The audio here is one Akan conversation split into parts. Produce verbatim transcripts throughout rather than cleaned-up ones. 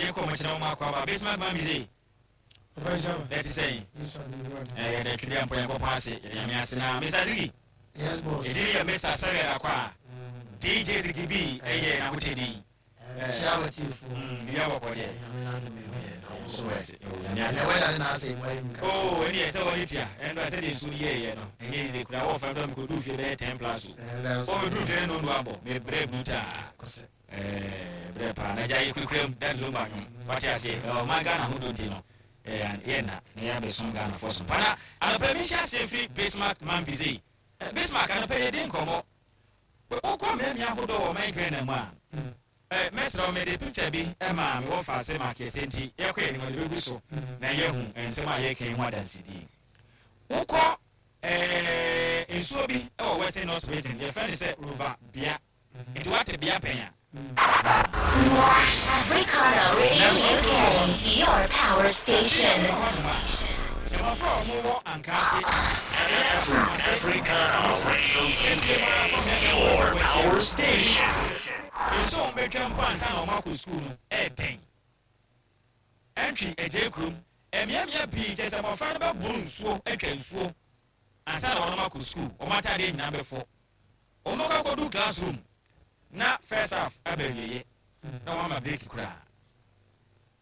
Yɛnkɔ ɔmo kyerɛ wɔn akɔ aba. Bismarck Mamize, ɛte sɛn? Ɛyɛ dɛ twede ampo Nyankopɔn ase, yɛde Nyame ase. Na Mister Ziggy? Yes, boss. Ɛdin yɛ Mister Sɛgɛd akɔ a D J Ziggy B ɛyɛ n'ahotɛdin. Hyia watiefo. Biribi abɔkɔ deɛ. Ɛnɛ wɛda ne n'asɛ mu ayɛ mu ka. Oo, ɛne yɛ sɛ wɔde pia ɛno a sɛdeɛ nsuo no yɛɛyɛ no ɛnyɛ yize kura wɔfa dɔ mekɔduu fie bɛyɛ ten plus o. Ɔmɛduru fie no no abɔ mebrɛ brutaa, brɛ paa na gya yɛ kurakura mu Daddy Lumba nwom wate aseɛ. Ɔma Ghana ho do nti no yɛnna na yɛabɛsom Ghanafoɔ so pana. Anɔpa mi hyɛ aseɛ firi Bismarck Mambize. Bismarck, anɔpa yɛdi nkɔmmɔ. Wokɔ mmeammea ahodoɔ wɔ ɔman Ghana mu a, mɛsrɛ wo, mede picture bi ma mewɔ fa ase ma kɛsɛ nti yɛkɔ yɛn anim de bɛgu so na yɛhu nsɛm a yɛka ho adansedie. Wokɔ nsuo bi wɔ Western North Region, yɛfrɛ no sɛ River Bia, nti wate Bia pɛn a. Africana Radio U K, your power station. Mmɔfra a wɔwɔ Ankaase. Africana Radio U K, your power station. Nsuo a wɔbɛtwa mpo ansa na wɔn akɔ sukuu no ɛɛdɛn ɛntwi agye kurom mmeammea pii kyɛ sɛ mmɔfra no bɛboro nsuo atwa nsuo ansa na wɔn akɔ sukuu. Wɔn ataadeɛ nyinaa bɛfɔ. Wɔn bɛkɔ akɔdu classroom na first half aba awieɛ na wɔn ama break koraa.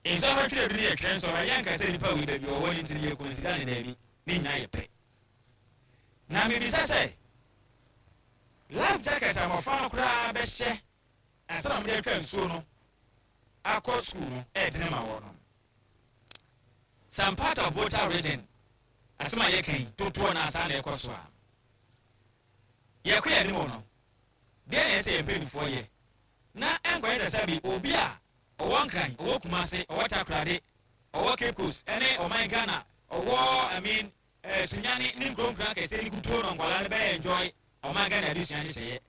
Nsɔhwɛ twerɛ bi no yɛ twerɛ nsɔhwɛ. Yɛn nkasa nipa wei baabi ɔwɔ ne ntiri yɛ consider ne daabi ne nyinaa yɛ pɛ. Na mebisa sɛ life jacket a mmɔfra no koraa bɛhyɛ ansa na wɔde atwa nsuo no akɔ sukuu no ɛɛdene ma wɔn no. Some part of Volta Region, asɛm a yɛka yi totoɔ no asa na ɛkɔ so a yɛkɔ yɛn anim no deɛ, na ɛsɛ yɛn mpanimfoɔ yɛ na ɛnkɔyɛ sɛ sɛbi obi a ɔwɔ Nkran, ɔwɔ Kumase, ɔwɔ Takorade, ɔwɔ Cape Coast ɛne ɔman Ghana, ɔwɔ, I mean, ɛɛ Sunyani ne nkuro nkuro akɛseɛ ne kutuo no, nkwadaa no bɛyɛ enjoy ɔman Ghana adesua nhyehyɛeɛ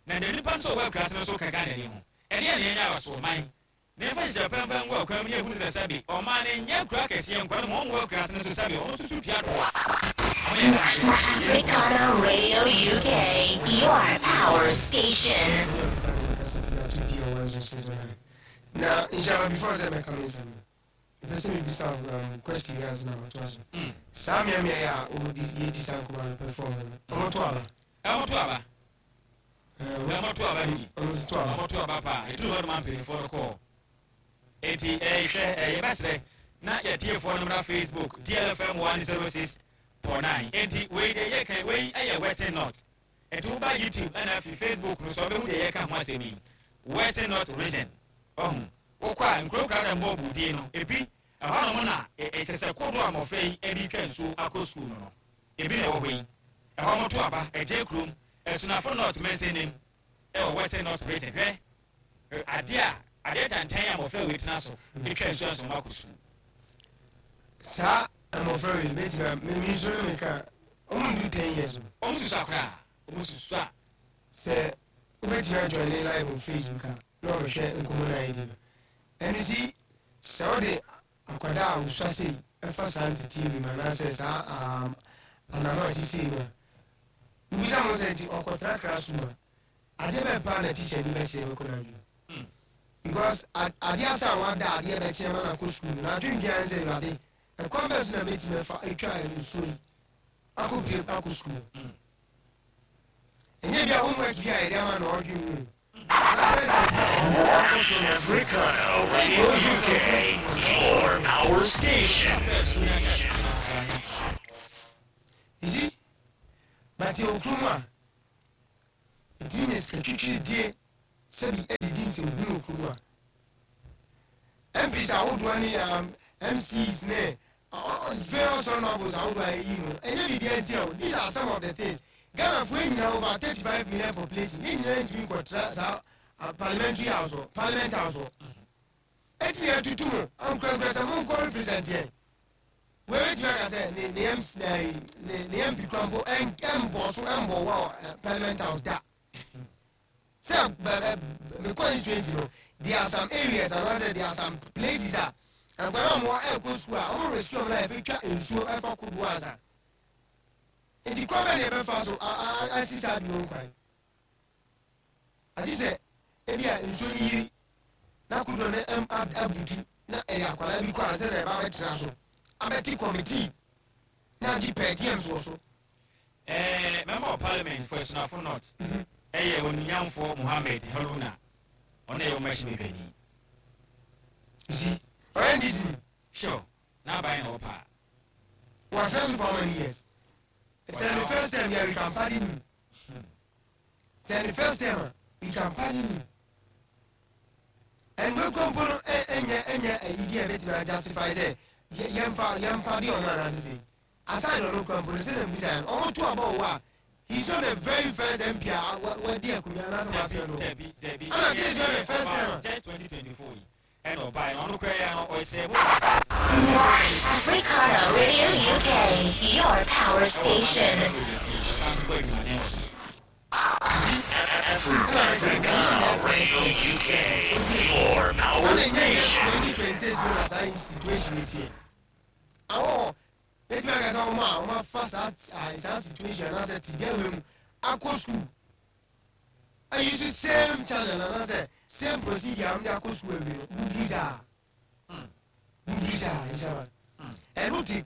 na deɛ nipa nso ɔwɔ akuraase no so ka Ghana ni ho. Ɛdeɛ na yɛnyɛ awaso ɔman na yɛfa hyehyɛ pɛnpɛn ngu akwan mu ne ehunu sɛ sɛbi ɔman no nyɛ nkuro akɛseɛ nkwa no ma wɔn wɔ akuraase no so sɛbi wɔn nso so tua toɔ. Africana Radio U K, your power station. Na nhyɛma, before sɛ mɛka me nsɛm no, mepɛ sɛ mebisa um, question bi ansa na matoa so. Saa mmeammea yi a wɔdi yɛdi saa nkɔmmɔ no perform no, ɔmɔto aba? Ɛmɔto aba, ɛmɔto aba no bi. Ɔmɔto aba. Ɔmɔto aba paa. Ɛduru hɔ no ma mpanimfoɔ no kɔɔ enti ɛhwɛ ɛyɛ bɛsrɛ na yɛtiefoɔ no mmra Facebook, D L F M one zero six point nine. Enti wei deɛ yɛka wei ɛyɛ Western North, enti woba YouTube ɛna afi Facebook no so ɔbɛhu deɛ yɛka ho asɛm yi. Western North Region, ɔhu wokɔ a nkuronkura dɛ mbɔ budie no ebi ɛhɔ nom na ɛkyɛ sɛ kodo a mmɔfra yi ɛde twa nsuo akɔ sukuu no no ebi na ɛwɔ hɔ yi. Ɛhɔ mo to aba ɛgye kurom Ɛsunafo North mɛnsɛn ɛwɔ Western North Region. Hwɛ adeɛ a adeɛ tantan a mmɔfra wei tena so etwa nsuo nso mo akɔ sukuu. Saa mmɔfra wei bɛtumi memi nso ne meka ɔmo ndu ten years o. Ɔmo susu akora, ɔmo susu a. Sɛ wobɛtumi ajoin ne live on Facebook a na ɔbɛhwɛ nkɔmmɔ no a yɛdi no ɛno si sɛ wode akwadaa a wosua sei ɛfa saa nteteɛ bi mu anaasɛ saa um, anama a ɛte sei mu a wobisa mo sɛ nti ɔkɔtena classroom a adeɛ bɛn paa na teacher ni bɛkyerɛ bɛkɔ no adwene, because adeɛ asa a wada adeɛ bɛkyerɛ ma no akɔ sukuu no na adwene biara ne sɛ, Awurade, ɛkwan bɛɛ so na mɛtumi afa atwa nsuo yi akɔ pie akɔ sukuu? Ɛnyɛ bi a homework bi a yɛde ama na ɔdwe mu. Africana Radio U K, your power station. You see, but yɛ okurum a ɛtumi nya sika twitwiridie sɛbi ɛdidi nsɛmhunu okurum a M Ps ahodoɔ ne um, M Cs ne uh, various honourables ahodoɔ a ɛyi no ɛnyɛ biribi nti o. These are some of the things. Ghanafoɔ nyinaa, over thirty five million population, ne nyinaa ntumi nkɔtena saa uh, parliamentary house hɔ, parliament house hɔ. Eti yɛ tutu mu ankorankora sɛ mo nkɔ represent yɛn. Wei bɛtumi aka sɛ ne ne M C ne ne ne M P kura mpo ɛn ɛmbɔ so ɛmbɔ wɔ ɛ parliament house da sɛ bɛ ɛ me constituency no, there are some areas anaasɛ there are some places a nkwadaa a wɔn ɛkɔ school a wɔn rescue wɔn life atwa nsuo ɛfa kodoɔ ansa. Nti kwan bɛ na yɛbɛfa so a a asi saa bi wɔn kwan agye sɛ ebi a nsuo no yiri na kodoɔ no ɛm abutu. ɛyɛ akwadaa bi kɔ ansa na ɛba abɛtena so abɛte committee na agye per diems wɔ so. Ɛɛ, member of Parliament for Asunafo North ɛyɛ Oniyamfoɔ Mohammed Haruna. Ɔno yɛ ɔmɛhyɛ bɛbɛni. Si ɔyɛ N D C ni. Sure, n'aban na ɔpa. Wɔatena so for how many years? Sɛ the first time yɛ, we can pardon him. Sɛ the first time a, we can pardon him. And we kɔ mpo no, ɛ ɛnyɛ ɛnyɛ ɛyi bi a ɛbɛtumi justify sɛ yɛ yɛmfa yɛmpa de ɔno anaasɛ sɛ aside ɔno kura mpo no, sɛ na mbisa yɛn ɔmo to aba wɔ a, he is not the very first M P a wadi akonnwa anaasɛ wapɛ no. Dabi, dabi. Ana this is not the first time a. Just twenty twenty four yi ɛna ɔbaa yɛ, ɔno kura yɛ no, ɔsɛ bo. Africana Radio U K, your power station. Ɔsan so bɔ adwumaden wɔ so. Africana Radio U K, your power station. Twenty twenty six no na saa situation yi tiɛ awɔ etumi aka sɛ ɔmo a ɔmo afa saa saa situation anaasɛ tibia wei mu akɔ school ayi so, same channel anaasɛ same procedure a ɔmo de akɔ school awie no, buburu gyaa buburu gyaa nhyɛn ɛno ti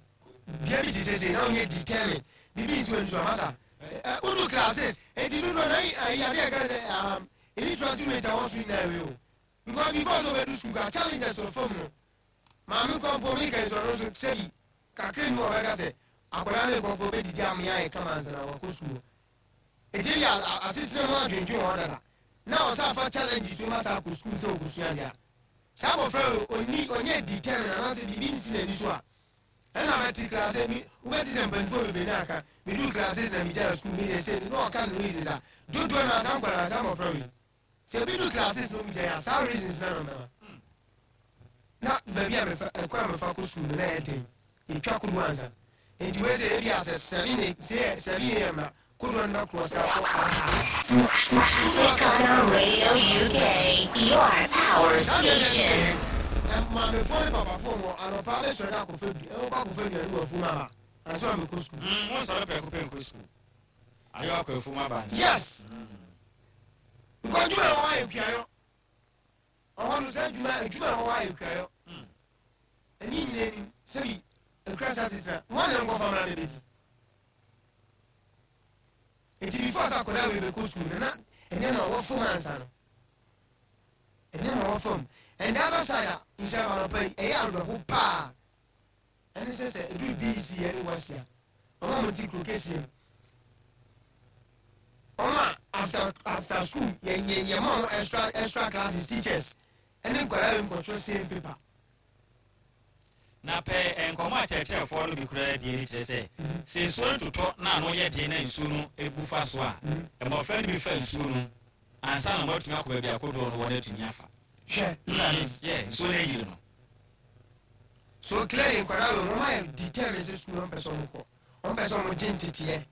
bia bi ti sese na ɔnyɛ determine bibi nsi wɔn nso amasa ɛ udu classes eti dudu na ayi adeɛ ka sɛ um illiteracy rate a wɔn so nyinaa wei o, because before so bɛdu school ka challenges wɔ fam no, maame kɔmpo mi ka nsɔrɔ nso sɛbi kakra ni wɔbɛka sɛ akwadaa ne kɔkɔ bɛdidi amea yɛ kama ansa na wakɔ school. Eti ebi asetena mu adwendwen wɔn dada na ɔsɛ afa challenge so ma sa akɔ school sɛ ɔkɔsua deɛ a, saa abɔfra yi oni ɔnyɛ determine anaasɛ biribi nsi n'ani so a, ɛna bɛte class mi wobɛte sɛ mpanimfoɔ bebree na aka medu class na megyaa school mi de sɛ na ɔka ne reasons a dodoɔ na asa nkwadaa saa abɔfra yi sɛ ebi du class na ɔmo gyaa saa reasons na na na baabi a mefa ɛkɔ a mefa kɔ school no na ɛyɛ den, yɛtwa kodoɔ ansa. Nti wei sɛ ebi asɛ seven sɛ seven a m na kodoɔ no bɛkorɔ sɛ akɔ aha. Africana Radio U K, your power station. Maamefoɔ ne papafoɔ wɔ anɔpa bɛsɔre akɔfa bi ɛwɔkɔ akɔfa aduane wɔ afum aba ansa na mekɔ school. Mo nsɔre prɛko pɛ nkɔ sukuu, ayɛ akɔ afum aba nsa. Yes, nkɔ adwuma a ɛwɔ ayɛ kuayɔ ɔhɔ no sɛ adwuma adwuma a ɛwɔ ayɛ kuayɔ ɛni nyina anim sɛbi ekura sa titira wɔn na nkɔfa mra na bɛdi. Nti before sɛ akwadaa wei bɛkɔ school no, na ɛnyɛ na ɔwɔ fam ansa no, ɛnyɛ na ɔwɔ fam. And the other side a nhyɛ anɔpa yi ɛyɛ awerɛho paa ɛne sɛ sɛ ɛduru B C ɛne wasia ɔmo a mo ti kuro kɛseɛ mu, ɔmo a after after school yɛ yɛ yɛ ma ɔmo extra extra classes, teachers ɛne nkwadaa wei nkɔtwerɛ same paper. Na pɛ nkɔmɔ akyerɛkyerɛfoɔ no bi koraa die ne kyerɛ sɛ sɛ nsuo no totɔ na ano yɛ den na nsuo no ebu fa so a, mmɔfra no bi fa nsuo no ansa na wɔatumi akɔ baabi akodoɔ no wɔn atumi afa. Hwɛ, look at this. Yɛ nsuo no ayiri no. So clearly nkwadaa wei wɔn ayɛ determined sɛ school wɔn pɛ sɛ wɔn kɔ, wɔn pɛ sɛ wɔn gye nteteɛ,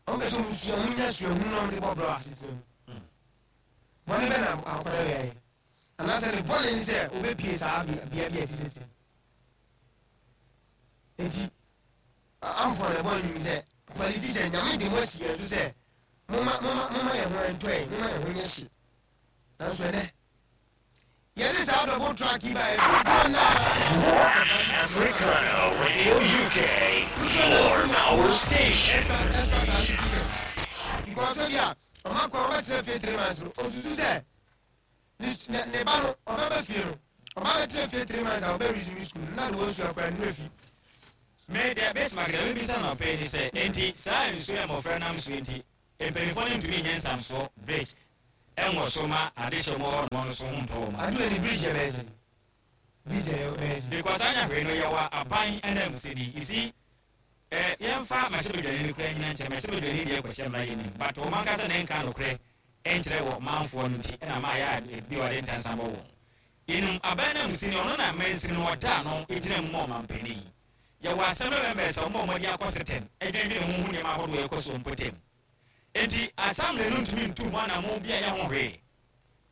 wɔn pɛ sɛ wɔn sua, wɔn nya suahunu na wɔn de bɔ brɛ asetena mu. Bɔnne bɛ na akwadaa wei ayɛ anaasɛ ne bɔnne ni sɛ obɛpie saa bea bea bi a ɛte sɛ sɛ eti ampɔ na ɛbɔ nnwom sɛ politician Nyame de mo asi yɛn so sɛ moma moma moma yɛn ho ntɔ yɛn, moma yɛn ho nyɛ hye, nanso ɛnɛ yɛde saa double track yi ba yɛ dodoɔ naa. Africana Radio U K, your power station. Because ebi a ɔmo akɔ ɔbɛtena fie three months no, osusu sɛ ne ne ne ba no ɔbɛba fie no, ɔba bɛtena fie three months a ɔbɛ resume school na de wɔn su akora ne fi. Me deɛ bɛsi makeda mebisa na ɔpɛ ni sɛ enti saa nsuo yɛ mmɔfra nam so, enti mpanyinfoɔ no ntumi nyɛ nsamsoɔ bridge ɛnwɔ so ma adehyɛ mu hɔ nom no so ho ntɔ wɔn? Adu ni bridge yɛ bɛyɛ sɛ bridge yɛ bɛyɛ sɛ. Because anya hwee no, yɛwɔ aban ɛna musedi, you see, ɛ yɛmfa mahyɛbadwani no kora nyina nkyɛn. Mahyɛbadwani deɛ kɔhyɛ mmara yɛ nim, but wɔn ankasa na ɛnka nokorɛ ɛnkyerɛ wɔ manfoɔ no nti ɛna maa yɛ a bi a ɔde ntansa bɔ wɔn yɛnum. Aban na musini ɔno na mansini no ɔda ano gyina mu ma ɔmampanin. Yɛwɔ asɛm no bɛmɛ sɛ ɔmo a ɔmɔde akɔ setɛm ɛdwendwene ho ho nneɛma ahodoɔ ɛkɔ so mpɔtam, enti assembly no ntumi ntu ho anammɔn bi a ɛyɛ ho hwee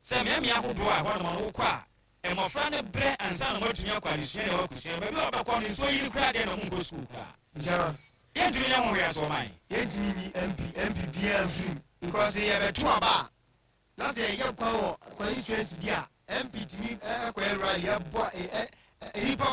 sɛ mmeammea ahodoɔ a ɛhɔ nom no wokɔ a mmɔfra no brɛ ansa na wɔatumi akɔ adesua na wɔakɔsua. Baabi a wɔbɛkɔ no nsuo yiri koraa deɛ na ɔmo nkɔ sukuu koraa. Nhyɛn. Yɛntumi nyɛ ho hwee aso ɔman. Yɛntumi nyi M P M P biara mfirim because yɛbɛto aba a na sɛ yɛyɛ kwan wɔ constituency bi a M P tumi ɛkɔyɛ rally ɛbɔ ɛ ɛ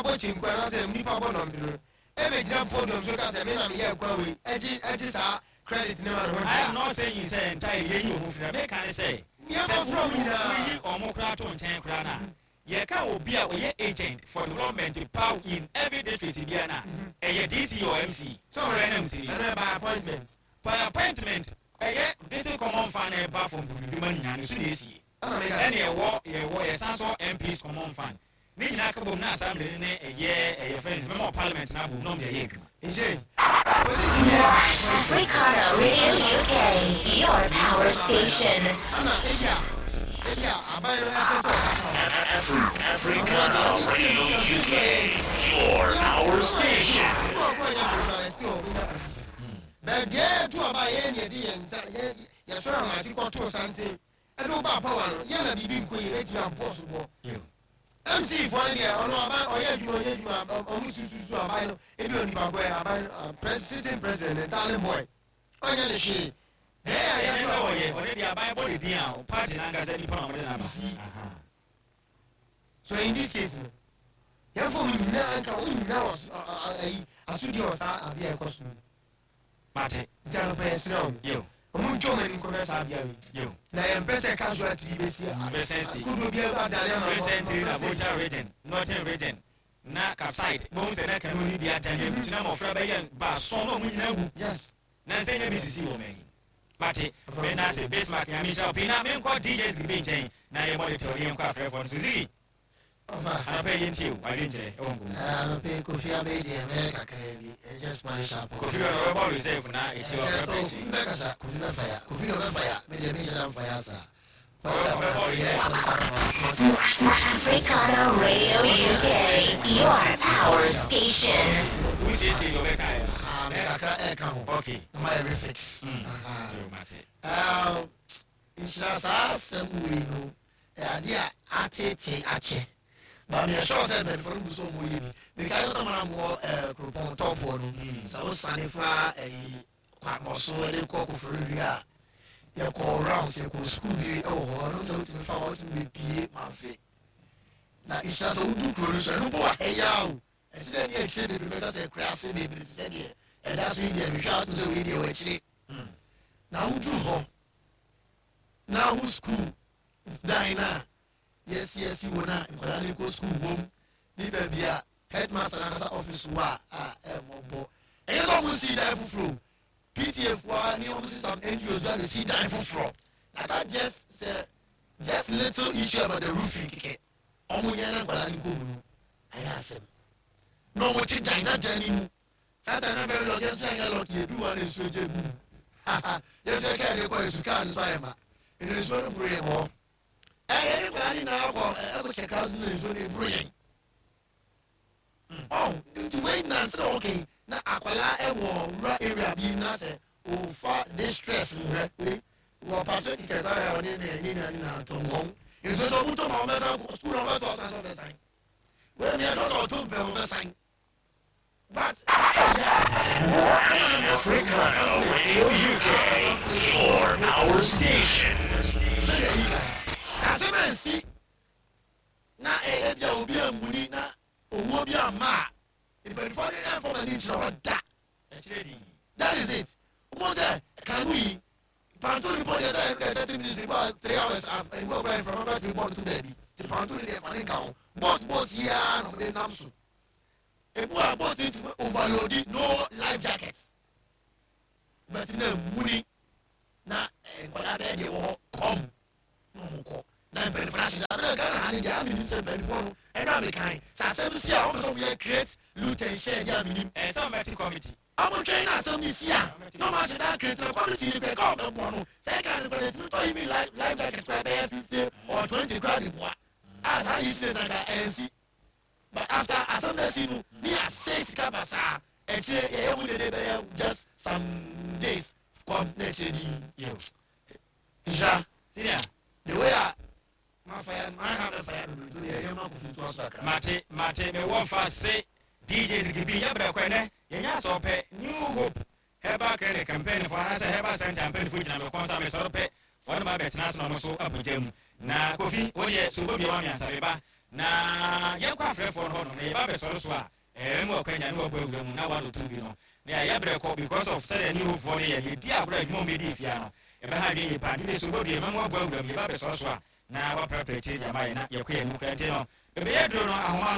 nipa bɔ kyenku anaasɛ nipa bɔ nɔmpe no ɛbɛgyina podium so ka sɛ me na meyɛ akwa wei, ɛgye ɛgye saa credit ne ma ne ho. I am not saying sɛ entire yɛyi ɔmo firi. Meka ne sɛ Nneɛma from nyinaa. Woyi ɔmo koraa to nkyɛn koraa na yɛka obi a ɔyɛ agent for development power in every district bia na ɛyɛ D C or M C. So ɔyɛ M C. Ɛno by appointment. By appointment, ɛyɛ district common fund na ɛba from bibima nyinaa no so na esie. Ɛna meka ɛne ɛwɔ yɛwɔ yɛsan so M Ps common fund ne nyinaa ka bom na assembly ne ɛyɛ ɛyɛ friends mɛma wɔ parliament na abom na ɔmo de ɛyɛ adwuma. Nhyɛ position yɛ. Africana Radio U K, your power station. Ɛna ebi a ebi a aban no ɛpɛ sɛ ɔka Afri- Africana Radio U K, your power station. Bɛɛ deɛ ɛto aba yɛn ne yɛde yɛn nsa yɛ yɛsɔrɔ amakye kɔtoo santen ɛde wo ba power no, yɛn na biribi nkɔ yie, bɛtumi abɔ so bɔ M C foɔ no deɛ, ɔno aban ɔyɛ adwuma, ɔyɛ adwuma, ɔ- ɔmo sususu aban no ebi onipa kɔ yɛ aban no pres sitting president ne darling boy, ɔnyɛ ne hwee bɛɛ a ɛyɛ yɛto sɛ aba ɔyɛ ɔde deɛ aban bɔ ne din a party n'ankasa nipa na ɔmo de n'aba. See. Aha. So in this case no, yɛmfa mu nyinaa nka wo nyinaa wɔ so- ɔ- ɔ- ɔ- ayi asodie wɔ saa adeɛ a ɛkɔ so no. Mate. Nti anɔpɛ yɛsrɛ wo, yo ɔmo ntwa ɔmo anim kɔhwɛ saa abea wei yo na yɛmpɛ sɛ casualty bi bɛsi Bɛsɛn si. kodoɔ bi adane ama. Recently na Volta Region, Northern Region na capside bohu sɛ na kanu ni bi adane agu gyina mmɔfra bɛyɛ baason na ɔmo nyinaa wu. Yes. Na nsɛ nya bi sisi wɔ m'ani. Mate, mena ase, Bismarck. Nyame nhyira wo pii. Na menkɔ D J Zibi nkyɛn na yɛmmɔ de tɛw ne yɛnkɔ afrɛfoɔ no so. Zigi. Ɔfa. Anɔpɛ yɛntie o, adwenkyerɛ ɛwɔ nkɔmmɔ. Anɔpɛ Kofi abɛyi deɛ mɛyɛ kakra bi, just man sharp. Kofi wɔ no ɔbɛbɔ reserve na ɛkyiri Yes, ɔbɛbɛ oh, akyiri. Mbɛkasa Kofi bɛfa ya, Kofi de ɔbɛfa ya, me deɛ menhyɛ da mfa ya saa. Africana Radio U K, your power station. Wosiesie deɛ ɔbɛkaeɛ. Ah, me kakra ɛɛka ho. Okay. Na mayɛ refix. Mm. Aha. Yo, mate. Um, nhyira saa asɛm wei no, ɛyɛ adeɛ a atete akyɛ ba meyɛ sure sɛ mpanyinfoɔ no gu so ɔmo yɛ bi. Mekae sɛ tamara mowɔ ɛɛ kuropɔn tɔpoɔ no, sɛ wosane fa ɛyi kwabɔ so ɛde kɔ Koforidua a, yɛkɔ rounds, yɛkɔ sukuu bi ɛwɔ hɔ. Ɛno sɛ wotumi fa hɔ, wotumi bɛpie Mamfe na nhyira sɛ wodu kuro no so, ɛno mpo wɔ ha o. Ɛkyerɛ dɛ ne akyire bebree bɛka sɛ akura ase bebree te sɛ deɛ ɛda so yi deɛ, mehwɛ atom sɛ wei deɛ wɔ akyire na woduru hɔ na wo school dan na yɛsiesi wɔ na nkwadaa no kɔ school wom ne baabi a headmaster n'ankasa office wɔ a a ɛmmɔbɔ. Ɛyɛ sɛ ɔmo si dan foforɔ o, P T A foɔ ne ɔmo si some N G Os bi abɛsi dan foforɔ na that just sɛ just little issue about the roofing kɛkɛ, ɔmo nyɛ na nkwadaa no kɔ mu no ɛyɛ asɛm na ɔmo te dan dada ne mu. Saa dan na very lucky, yɛn nso yɛnyɛ lucky, yɛdu wa na nsuo gye gu mu. Yɛn nso yɛ kaa de kɔ nsu kaa no so ayɛ ma ɛna nsuo no boro yɛn hɔ. Ɛyɛ ne nkwadaa ne nyinaa kɔ ɛkɔ kyɛ kaa so na nsuo no eboro yɛn ɔn. Nti wei nansi na ɔkè na akwadaa ɛwɔ rural area bi na sɛ ofa de stress nwɛ wei wɔ pato kɛkɛ kora yɛ ɔne ne ne nua ne na tɔ wɔn nsuo tó ɔmo tó ma ɔmo bɛsan sukuu na ɔmo bɛtɔ ɔsan sɛ ɔbɛsan wei mi ɛsɛ sɛ ɔtɔ mpɛ ɔmo bɛsan but. Africana Radio U K, your power station. Asɛm ansi na ɛyɛ bia obi amuni na owuo bi ama a, mpanyinfoɔ de ɛnfɔ ma ni nkyerɛ hɔ da. Ɛkyerɛ din. That is it. Mo sɛ kanu yi pontoon ni bɔ deɛ sɛ ɛyɛ thirty minutes ebi three hours ebi ɔkura nframa bɛ tumi bɔ no to baabi ti pontoon ni deɛ fa ne nka ho. Boat boat yi ara na ɔmo de nam so. Ebu a boat ni ti overload, no life jacket, bɛti na muni na nkwadaa bɛyɛ deɛ wɔ hɔ kɔm na ɔmo kɔ na mpanyinfoɔ ahyɛ dɛ abɛnɛ Ghana ha ne deɛ aminim sɛ mpanyinfoɔ no ɛna amekan sɛ asɛm si a wɔn sɛ wɔn yɛ create loot and share deɛ aminim. Ɛsɛ ɔmɛte committee. Ɔmo twɛn na asɛm ni si a na ɔmo ahyɛ dɛ create na committee ni kɛ kɛ ɔbɛ bɔ no sɛ ɛka ne kɔ ɛtumi tɔ yi mi life life jacket kora bɛyɛ fifty or twenty kora de boa a saa incident na ka ɛnsi. But after asɛm na si no ne ase sika basaa, ɛkyerɛ yɛyɛ mu dede bɛyɛ just some days kɔm na ɛkyerɛ di. Yo. Nhyira. Senior. The way a ma fa ya ma ha bɛ fa ya dodo yɛ yɛ ma kofi to aso akra. Mate, mate. Mewɔ fa se D J Zigibi yɛbrɛ kɔ ɛnɛ yɛnya asɔ pɛ New Hope Herbal Clinic mpanyinfoɔ anaasɛ Herbal Center mpanyinfoɔ gyina me kɔn so a mesɔre pɛ wɔne ma bɛtena ase na ɔmo so apagya mu. Na Kofi wodeɛ so wobɛbia wa miɛnsa meba. Na yɛnkɔ afrɛfoɔ no hɔnom na yɛba bɛsɔre so a, ɛɛ mu ɔkwanya ne wɔbɔ awura mu na one oh two bi no na yɛayɛ berɛ kɔ because of sɛdeɛ ne hofoɔ no yɛ no, yɛdi agorɔ adwuma a wɔbɛdi fia no, ɛbɛha adwene yie paa. Ne sɛ wobɛdue ma mu abɔ awura mu, yɛba bɛsɔre so a na waprapra akyiri de ama yɛ na yɛkɔ yɛn anim kora. Nti no bɛbɛyɛ duro no ahoma.